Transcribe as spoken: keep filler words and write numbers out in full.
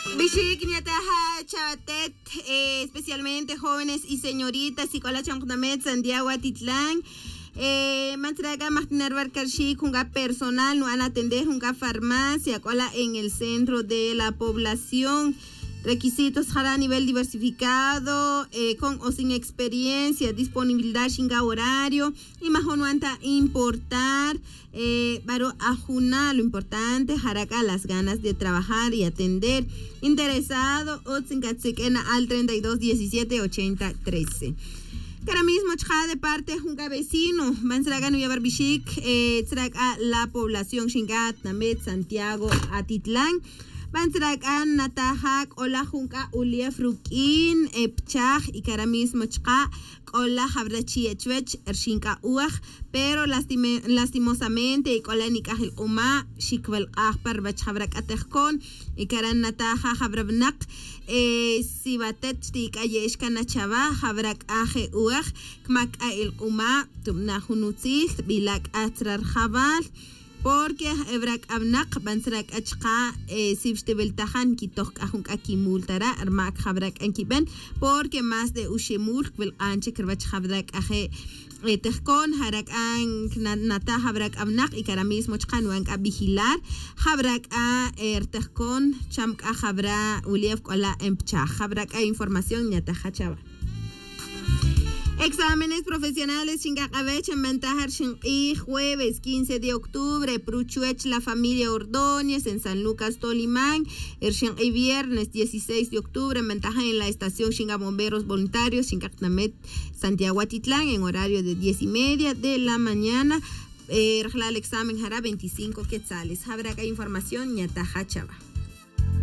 Bixik nyataja chawatet, especialmente jóvenes y señoritas y k'ola cham q'unamet santiago atitlan. Man tzra' k'a majtina' ruwar karxik jun k'a personal nu'an atender jun k'a farmacia k'ola en el centro de la población. Requisitos jara' nivel diversificado, con o sin experiencia, disponibilidad xin k'a horario. Y majun nu'an ta importar. Baro' ajuna lo importante jara' k'a las ganas de trabajar y atender. Interesado utz nkatsik'en na'al treinta y dos diecisiete ochenta trece. Kara' mismo chka' de parte jun k'a vecino, man tzra' k'a nuya' bar bixik, tzra' k'a la población xin k'a tnamet santiago atitlan. Man tzra' k'a nataja k'ola jun k'a ulief ruk'in, pchaj y kara' mismo chka' k'ola jabra' chiye' chuwech rxin k'a uwaj. Pero lastimosamente y k'ola nik'aj ilq'uma' xikbelq'aj pa ruwech jabra' k'a tejkon. Y kara' nataja jabra' winak, si watet xtik'aye'ex k'a na chawa jabra' k'a je' uwaj, kmak k'a ilq'uma', tubna' jun utzil, tbila' k'a tzra' rjawal. Porque aj ebra' k'a winak ban tzra' k'a chka', si xtiwiltajan nkitoj k'a jun k'a kimul tara' rma' kjabra' k'a nkiben. Porque más de uxemul kwilk'an chik ruwech jabra' k'a je' tejkon jara' k'a, nata' jabra' k'a winak y kara' mismo chka' nu'an k'a vigilar jabra' k'a rtejkon cham k'a jabra' ulief k'ola' npchaj jabra' k'a información nyataja chawa. Exámenes profesionales xink'aq'awech nbantaja rixin q'ij jueves quince de octubre pruchuwech la familia ordóñez en san lucas tolimán. Rixin q'ij viernes dieciséis de octubre nbantaja en la estación xink'a bomberos voluntarios xink'a q'namet santiago atitlán en horario de diez y media de la mañana. Rajlal examen jara' veinticinco quetzales jabra' k'a información nyataja chawa.